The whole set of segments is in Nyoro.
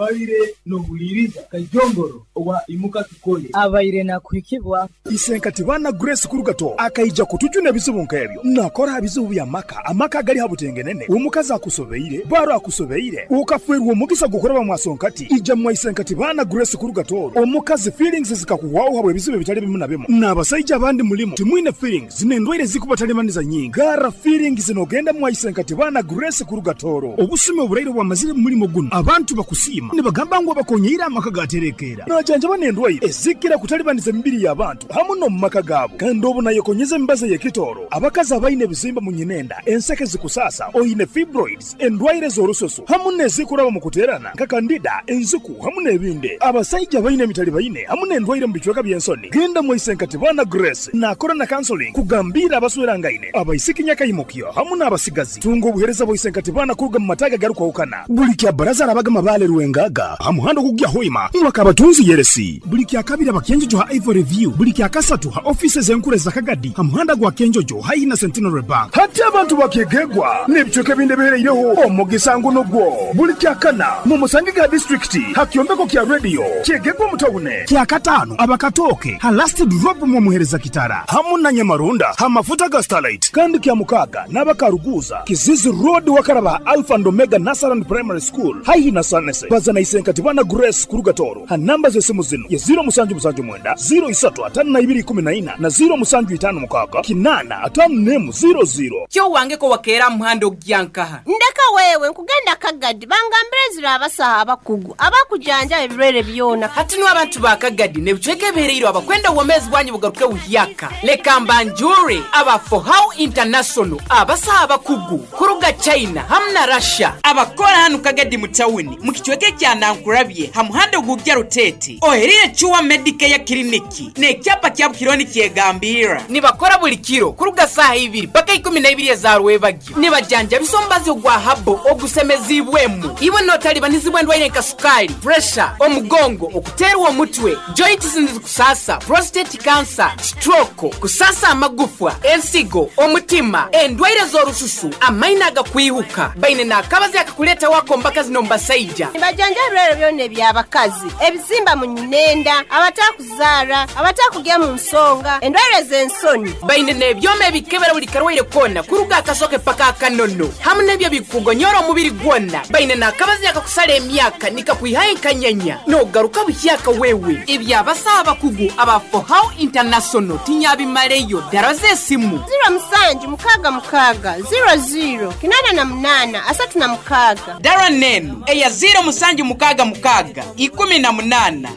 Obaire nohuliriza Kajongoro owa Imuka Tukole. Abaire nakuhikibwa. Isenkati baana Grace Kurugato akaija kutujuna ebizibu nk'ebyo. Nakora ha bizibu by'amaka, amaka agali ha butengenene, omukazi akusobeire, baro akusobeire, okafeerwa omugisa gw'okuraba mwa Sonkati, ija mwa Isenkati baana Grace Kurugato. Omukazi feelings zikakuhwaho habw'ebizibu ebitali bimu na bimu. N'abasaija abandi mulimu timwine feelings n'endwaire ezikubatalibaniza nyingi. Garra feelings n'ogenda mwa Isenkati baana Grace Kurugatoro. Obusumi oburaire obwamazire mu mulimo gunu, abantu bakusiima nibagamba ngu abakonyeire amaka gaterekeera. Najanjaba n'endwaire ezikira kutalibaniza emibiri y'abantu hamu n'omu maka gaabo. Kandi obu nayekonyeza emibazi ey'ekitooro, abakazi abaine ebizimba mu nyinenda, enseke zikusaasa, oine fibroids, endwaire z'orususu hamu n'ezikuraba mu kuteerana nka kandida, enziku hamu n'ebindi. Abasaija abaine emitalibaine hamu n'endwaire mu bicweka by'ensoni, genda mwaise Nkatibana Grace nakora na counseling kugambiira abaswerangaine, abaisiki nyakaimukyo hamu n'abasigazi. Tunga obuheereza bwa Isenkatibana kuruga mu mataagi agarukwahukana. Buli kya Baraza arabaga Mabaale Rwengaga ha muhanda ogukugya Hoima mwaka Abatunzi Yeresi. Buli kya Kabiri aba Kyenjojo ha Ivory View. Buli kya Kasatu ha ofiisi ez'enkuru eza Kagadi ha muhanda gwa Kyenjojo haihi na Centenary Bank. Hati abantu ba Kyegegwa n'ebicweka ebindi ebihereireho omugisa ngu nugwo. Buli kya Kana mumusangege ha disiturikiti ha kyombeko kya Radio Kyegegwa omu tawuni. Kya Kataano aba Katooke ha Last Drop mwomuhereza Kitara hamu na Nyamarunda ha mafuta ga Starlight. Kandi kya Mukaaga n'aba Karuguuza, Kizizi Road wakaraba ha Alpha and Omega Nursery and Primary School haihi na Sanese. Baza na Isenkati Bana Grace kuruga Tooro ha namba z'esimu zinu ye 0779 03 52 14 na 0756 851 00. Kyo wange ko wakeera aha muhanda ogugya nkaha? Ndeka wewe, nkugenda Kagadi bangambire ezira abasaho abakugu abakujanjaba ebirwaire byona. Hati nu abantu ba Kagadi n'ebicweka ebihereirwe abakwenda obwomeezi bwanyu bugaruke buhyaka, leka mbanjure aba Fohow International abasaho abakugu kuruga China hamu na Russia abakora hanu Kagadi mu tawuni mu kicweka ekya Nankurabye ha muhanda ogugya Ruteete ohereire Cure Medicare Clinic n'ekyapa kyabu kiriho nikyegambirra. Nibakora buli kiro kuruga saaha ibiri paka ikumi na ibiri eza rwebagyo. Nibajanjabisa omubazi ogwa habo ogusemeziibwemu. Iwe n'otalibanizibwa endwaire nka sukaali, puresha, omugongo, okuteerwa omutwe, joints nizikusaasa, prostate cancer, stroke, kusaasa amagufwa, ensigo, omutima, endwaire z'orususu, amaino agakwihuka. Baine n'akabazi akakuleetaho ak'omu bakazi n'omu basaija. Nibajanjaba ebirwaire byona eby'abakazi, ebizimba mu nyinenda, abatakuzaara, abatakugya mu nsonga, endwaire z'ensoni. Baine n'ebyoma ebikebera buli karwaire koona kuruga aha kasoke paka aha kanono hamu n'ebyo ebikukugonyora omubiri gwona. Baine n'akabazi akakusara emyaka nikakwihaho enkanyanya n'ogaruka buhyaka wewe. Eby'abasaho abakugu aba Fohow International tinyabimaleyo. Dara z'esimu. Ziro musanju mukaaga mukaaga, ziro ziro, 88, 36. Dara n'enu eya ziiro musanju mukaaga mukaaga, 18,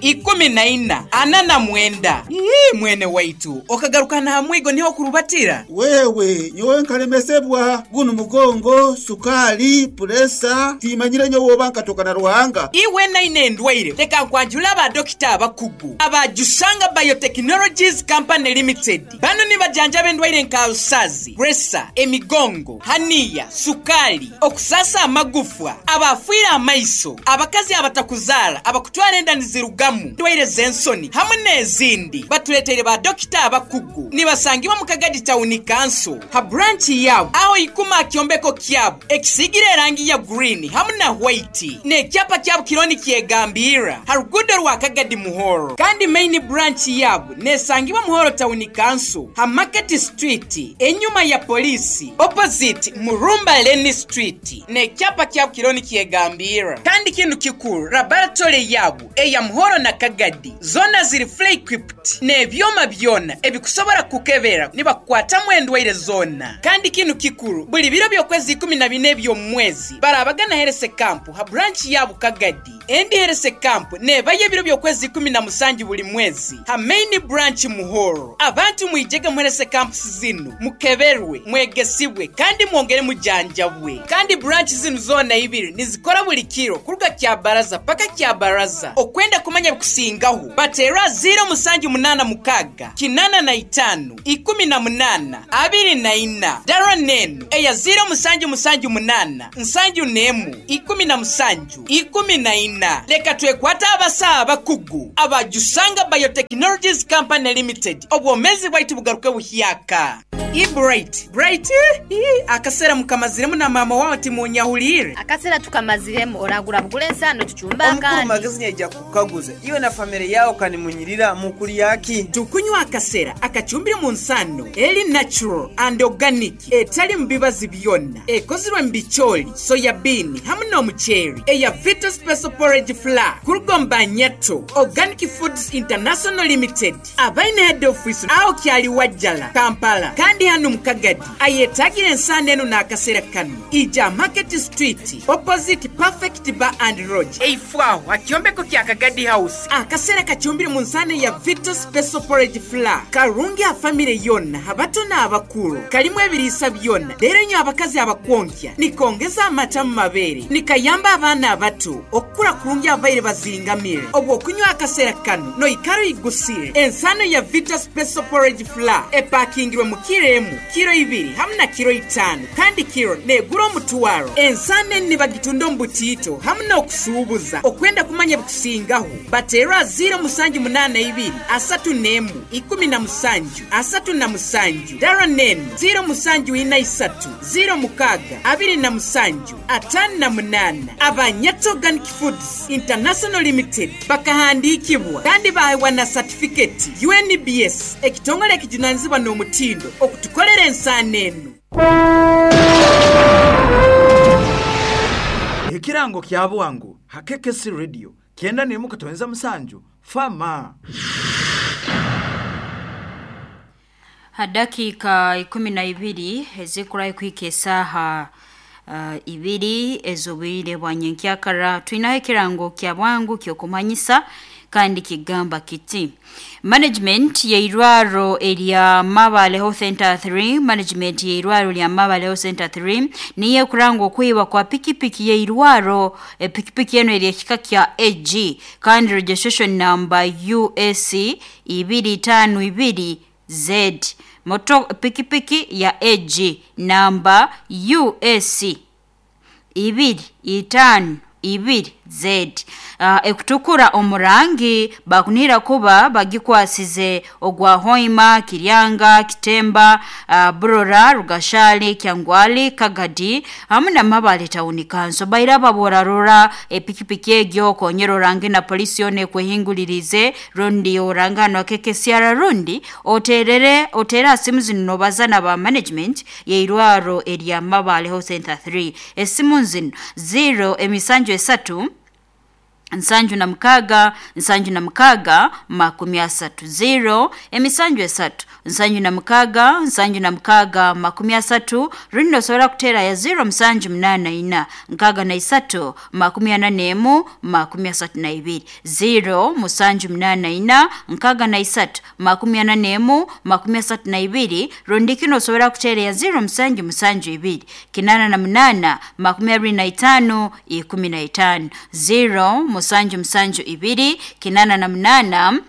14, 49. Ii, mwene waitu, okagaruka n'aha mwigo niho okurubatira? Wewe, nyowe nkalemesebwa gunu mugongo, sukaali, puresa, timanyire nyowe oba nkatoka na Ruhanga. Iwe naine endwaire, leka nkwanjule aba dokita abakugu aba Jusanga Biotechnologies Company Limited. Bano nibajanjaba endwaire nka alusazi, puresa, emigongo, haniya, sukaali, okusaasa amagufwa, abaafiire amaiso, abakazi abatakuzaara, abakutwara enda nizirugamu, endwaire z'ensoni hamu n'ezindi. Batuleteire ba dokita abakugu. Nibasangibwa mu Kagadi Tawuni Kanso ha buranchi yaabo aho ikuma aha kyombeko kyabo ekisiigire erangi ya gurini hamu na hwaiti n'ekyapa kyabo kiriho nikyegambirra ha ruguudo rwa Kagadi Muhoro. Kandi maini buranchi yaabo nesangibwa Muhoro Tawuni Kanso ha Market Street enyuma ya poliisi opposite Murumba Lane Street n'ekyapa kyabo kiriho nikyegambirra. Kandi kinu kikuru laboratory yaabo eya Muhoro na Kagadi zoona ziri fully equipped n'ebyoma byona ebikusobora kukukebera nibakukwatamu endwaire zoona. Kandi kinu kikuru, buli biro by'okwezi 14 eby'omu mwezi barabagana Herese Camp ha branch ya Bukagadi. Endi Herese Camp nebayo ebiro by'okwezi 17 buli mwezi ha Main Branch Muhoro. Abantu mwijege mu Herese Camps zinu mukeberwe, mwegesibwe kandi mwongere mujanjabwe. Kandi branch zinu zoona ibiri nizikora buli kiro kuruga Kyabaraza paka Kyabaraza. Okwenda kumanya ebikusingaho, bateerwa 0786 85 18 24. Dara n'enu eya 0778 71 17 14. Leka twekwate abasawo abakugu aba Jusanga Biotechnologies Company Limited obwomeezi bwaitu bugaruke buhyaka. Ii Bright, Bright, ii, akasera mukamaziremu na maama wawe timunyahuliire. Akasera tukamaziremu oragura bugura ensaano tucumbe Omukuru akandi. Magezi nyaija kukaguza iwe na famire yawe kanimunyirira mukulyaki? Tukunywa akasera akacumbire mu nsano eri natural and organic etali mu bibazi byonna ekozirwe mu bicooli, soya bean hamu n'omuceeri eya Vita Special Porridge Flour kuruga Nyato Organic Foods International Limited abaine head office aho kyali Wajjala Kampala kandi hano mu Kagadi ayetagire ensano eno n'akasera kano ija Market Street opposite Perfect Bar and Lodge eifwaho akyombeko kya Kagadi House akasera kacumbire mu nsano ya Vita Special Porridge Flour karungi a family yonna abato n'abakulu kalimu ebiriisa byonna leero nyo abakazi abakwonkya nikongeza amata mu mabeere nikayamba abaana abato okukula kurungi abaire bazingamire obwo okunywa akasera kano noikara igusire ensano ya Vita Special Porridge Flour epakingirwe mu kiro emu kiro ibiri hamu na kiro itano kandi kiro negura omutwaro ensano eni bagitunda omu butiito hamu n'okusuubuza okwenda kumanya bikusingaho bateerwa 0782 31 17 37 dara nenu 0743 06 27 58 Abanyato Organic Foods International Limited bakahandikibwa kandi bahewa na certificate UNBS ekitongole ekijunanizibwa n'omutindo okutukolera ensaano eno. Ekirango kya bwangu hakekesi radio 91.7 fama. Hadakika 12 ezikurayo kuhika esaha 2 ez'obwire bwa nyenkyakara twinaho ekirango kya bwangu ky'okumanyisa kandi kigamba kiti management yeirwaro erya Mabale Health Center 3 management yeirwaro lya Mabale Health Center 3 niye kurangwa okwiba kwa pikipiki yeirwaro pikipiki eno eri ekika kya AG kandi registration number USC 252 Z moto pikipiki ya AG namba USC 252 Z ekutukura omurangi bakunira kuba bagikwasize ogwa Hoima, Kiryanga, Kitemba, Burora, Rugashali, Kyangwali, Kagadi hamwe na Mabale Town Council baira baborarora epikipiki egyo konyero rangi na polisi yone kwehingulirize rundi orangano keke siara rundi oterere otera simu zino bazana ba management yeirwaro erya Mabale Health Center 3 esimu zino 0 emisanju esatu nsanju na mukaga 30 0 emisanju esatu nsanju na mukaga 30 rundi osobola kutera ya 0 musanju munana ina nkaga na isatu 44 32 0 musanju munana ina nkaga na isatu 44 32 rundi kino osobola kutera ya 0 musanju musanju ibiri 88 25 15 0 musanju musanju ibiri 88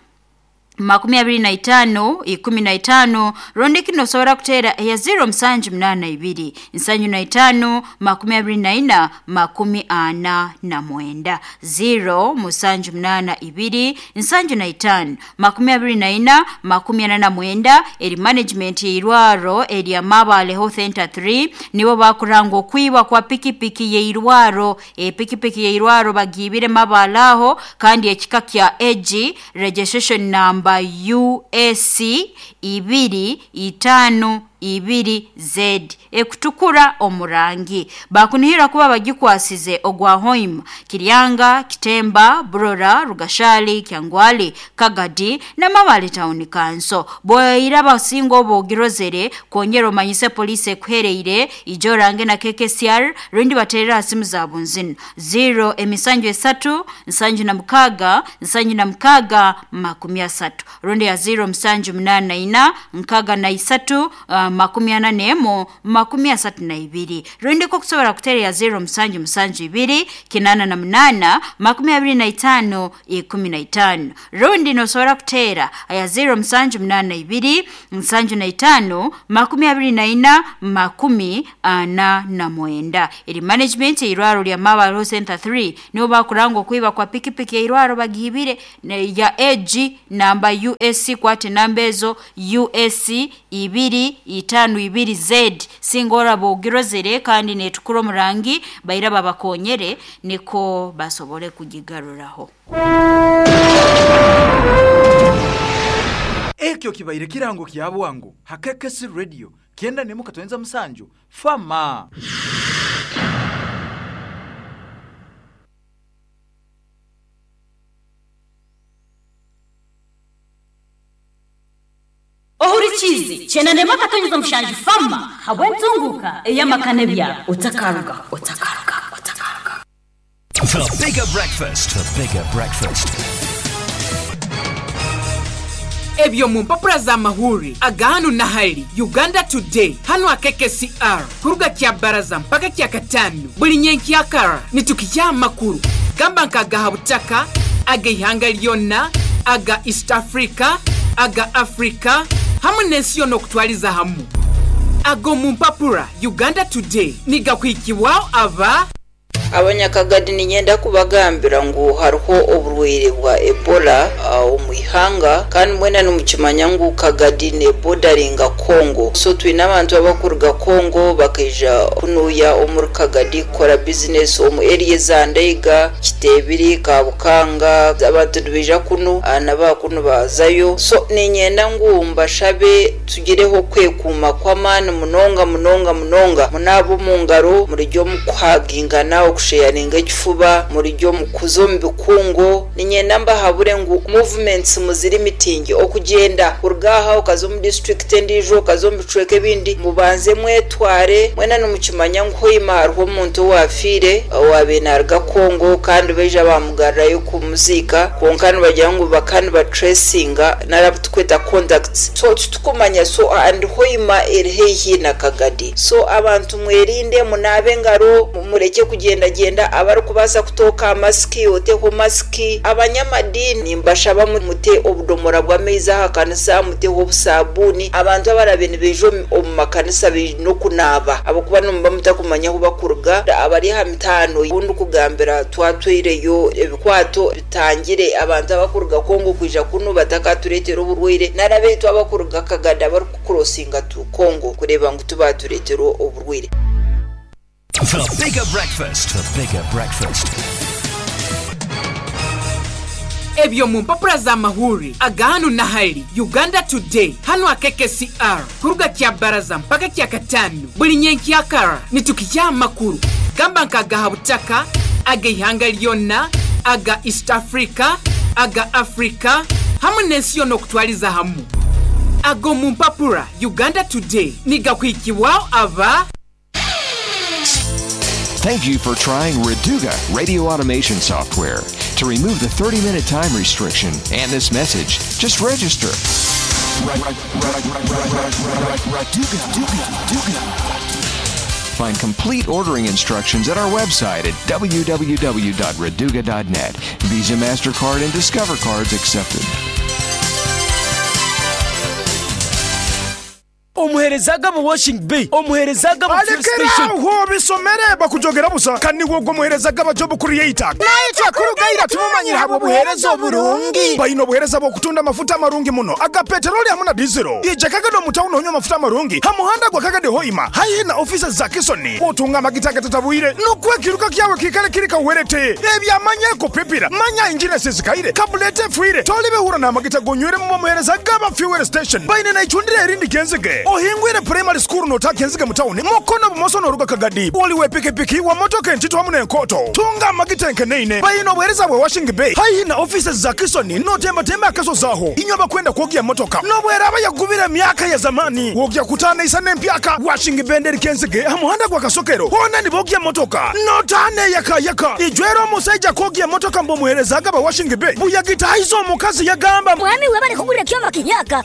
25 15 rundi kino osobola kutera ya 0 musanju munana ibiri nsanju na itano 24 49 0 musanju munana ibiri nsanju na itano 24 49 eri management yeirwaro erya Mabale Health Center 3 nibo bakurangwa okwiba kwa pikipiki yeirwaro pikipiki yeirwaro bagibire Mabale aho kandi ekika kya AG registration number USC 252 Z ekutukura omurangi bakunihira kuba bagikwasize ogwa Hoima, Kiryanga, Kitemba, Burora, Rugashali, Kyangwali, Kagadi na Mabale Town Council boyira basingo bogirozere kongera omanyise police ekuhereire ijorange na KKCR rundi baterera simu za bunzino 0 emisanju esatu nsanju na mukaga 30 rundi ya 0 musanju munana ina nkaga na isatu 44 32 rundi ko kusobora kutera ya 0 musanju musanju ibiri 88 25 15 rundi nosobora kutera aya 0 musanju munana ibiri nsanju na itano 24 49 eri management irwaro lya Mabale Health Center 3 nibo bakurangwa kwiba kwa pikipiki irwaro bagibire ya AG namba USC kwate namba ezo USC 2 52Z singa oraba ogirozere kandi netukura omurangi baira babakonyere niko basobole kugigaruraho. Ekyo kibaire kirango kya bwangu hakekesi radio 97 fama. Ohurikizi 97 fama habwentunguka eyamakane bya utakaruga utakaruga utakaruga. The bigger breakfast, the bigger breakfast. Ebyo mu mpapura za mahuri agahanu na hali Uganda Today hano akekesiR kuruga kya baraza mpaka kya katano buli nyenkyakara nitukijya amakuru gamba nkagaha butaka aga ihanga lyonna aga East Africa aga Africa hamwe n'ensi yonna okutwaliza hamu. Ago mu mpapura Uganda Today nigakwikibwaho aba Abanyakagadi ninyenda kubagambira ngu hariho oburwaire bwa Ebola omu ihanga kandi mwena nimukimanya ngu Kagadi ne bordering'a Congo, so twine abantu abakuruga Congo bakaija kunuya omuri Kagadi kukora business omu area za Ndeiga, Kitebiri, Kabukanga. Abantu nibaija kunu nabakunu bazayo, so ninyenda ngu mbashabe tugireho kwekuuma kw'amaani munonga munonga munonga, munaaba omu ngaro, murijya omu kuhagingana, okusheyaringa ekifuba, murijya omu kuza omu bikungu. Ninyenda mbahabure ngu movements muziri mitingi okugyenda kuruga aha okaza omu district endiijo okaza omu bicweka ebindi, mubanze mwetware. Mwena nimukimanya ngu hoima hariho omuntu owafiire owaabaire naaruga Congo kandi baija bamugarurayo kumuziika, kwonka nibagira ngu bakaba nibatracinga nari tukweta contacts, so titukumanya. So and hoima eri haihi na Kagadi, so abantu mwerinde, munaabe engaro, mureke kugenda genda. Abarikubaasa kutooka masiki oteho masiki. Abanyamadini mbashaba mute obudomora bw'amaizi aha kanisa, muteho obusabuni. Abantu abarabe nibaija omu makanisa baine okunaaba ahabw'okuba nimuba mutakumanya ahu bakuruga. Abari aha mitaano obundi kugambira twatwireyo ebikwato bitangire abantu abakuruga Congo kwija kunu batakatureetera oburwaire, nari abaitu abakuruga Kagadi abarikukurosinga tu Congo kureeba ngu tubatureetera oburwaire. The bigger breakfast, the bigger breakfast. Ebyo mu mpapura za mahuri agahanu na hali Uganda Today hano akekesiR kuruga kya baraza mpaka kya katano buli nyenkyakara nitukijya amakuru gamba nkagaha butaka aga ihanga lyonna aga East Africa aga Africa hamwe n'ensi yonna okutwaliza hamu. Ago mu mpapura Uganda Today nigakwikibwaho aba. Thank you for trying Reduga radio automation software. To remove the 30-minute time restriction and this message, just register. Find complete ordering instructions at our website at www.reduga.net. Visa, MasterCard, and Discover cards accepted. Omuherezaga mu washing bay, omuherezaga mu fuel station. Alekera bisomere bakujogera busa kandi wogwo muherezaga ba job creator. Naye kyakurugaira tumumanyira habo buhereza oburungi. Bayino obuhereza bw'okutunda amafuta amarungi muno aga petroli hamwe na diesel. Ije Kagadi mu town onywa amafuta amarungi hamuhanda gwa Kagadi hoima haihi na offices za Kisoni. Otunga amagita gatatabwire nokwekiruka kyawe kikale kirika uwerete. Ebyamanya kupipira manya engine sezikaire kabulete fuire tolibehura na amagita gonywere mu muherezaga ba fuel station. Bayine na ichundire erindi kenzige. Ohingwire primary school notakenzige mutawuni mukono bumoso noruga Kagadi oliwe pikipiki wa motoka entito hamwe n'enkoto tunga amagita enkeneine bayino obuhereza bwe washing bay haihi na offices za Kisoni notembatemba akaso zaho inywa bakwenda kwogya motoka nobweraba yagubira myaka ya zamani wogya kutana isa n'empyaka washing bay kenzige hamuhanda gwa Kasokero hona nibogya motoka notane yaka yaka ijwero omusajja kwogya motoka mbo muherezaga ba washing bay buyagita hizo omukazi yagamba mwami webale kugura kyoma kinyaka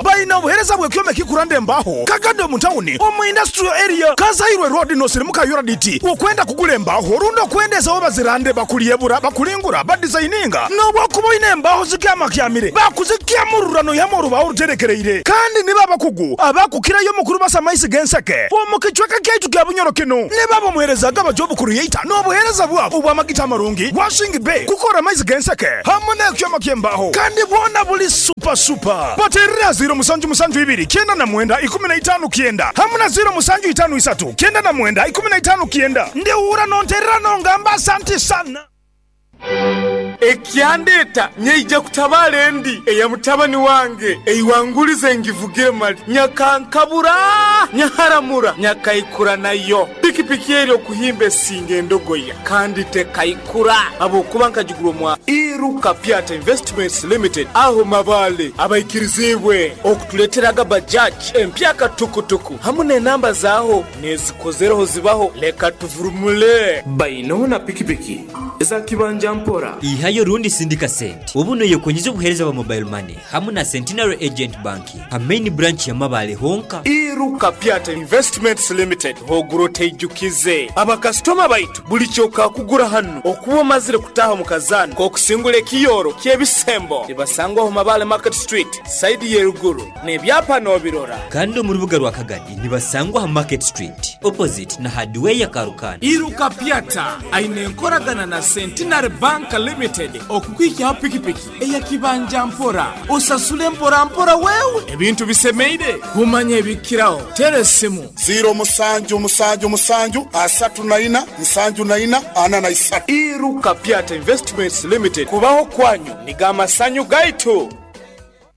bayina obuhereza bwe kyoma kikurande mbaho Kagadi mu town omu industrial area Kazairwe road no sirimuka URDT okwenda kugula embaho rundo kwendeza oba zirande bakuliyebura bakulingura badesigninga nobwo ine embaho zikyamakyamire bakuzikyamururano yamoruba oruterekereire kandi niba abakugu abakukirayo mukuru basa maisi genseke omu kicweka kyaitu kya Bunyoro kino niba bamuherezaga ba job creator n'obuhereza bwabo obw'amagita amarungi washing bay kukora maisi genseke hamwe n'ekyoma ky'embaho kandi bwona buli super Super Super. Baterera 072 99 15 90 hamwe na 0753 99 15 90. Ndewura nonterera nongamba asante sana. Ekyandeta nyeija kutabala endi eya mutabani wange eiwangulize ngivugire mali nyakankabura nyaharamura nyakaikura nayo pikipiki eri okuhimba esinga endogoya kandi tekaikura habwokuba nkagigura omwa Iruka Piata Investments Limited aho Mabale abaikirizibwe okutuleteraga bajaji empyaka tukutuku hamu n'enamba zaaho nezikozereho zibaho leka tuvurumule Bainoho na pikipiki eza kibanja mpora. Ihayo rundi sindika sente obu noyekonyeza obuheereza bwa mobile money hamu na Centenary Agent Banking ha main branch ya Mabale honka. Iruka Piata Investments Limited hogura oteijukize abakasitoma baitu buli kyokakugura hanu okuba omazire kutaha omu kazaano k'okusingura ekiyoro ky'ebisembo nibasangwaho Mabale Market Street saidi y'eruguru n'ebyapa n'obirora. Kandi omu rubuga rwa Kagadi nibasangwa ha Market Street opposite na Hardware Karukanda. Iruka Piata aine enkoragana na Centenary Bank Limited okukwikyaho pikipiki eya kibanja mpora osasule mpora mpora wewe ebintu bisemeire kumanya ebikiraho tera esimu 07 7 7 34 74 43. Iruka Piata Investments Limited kubaho kwanyu niga amasanyu gaitu.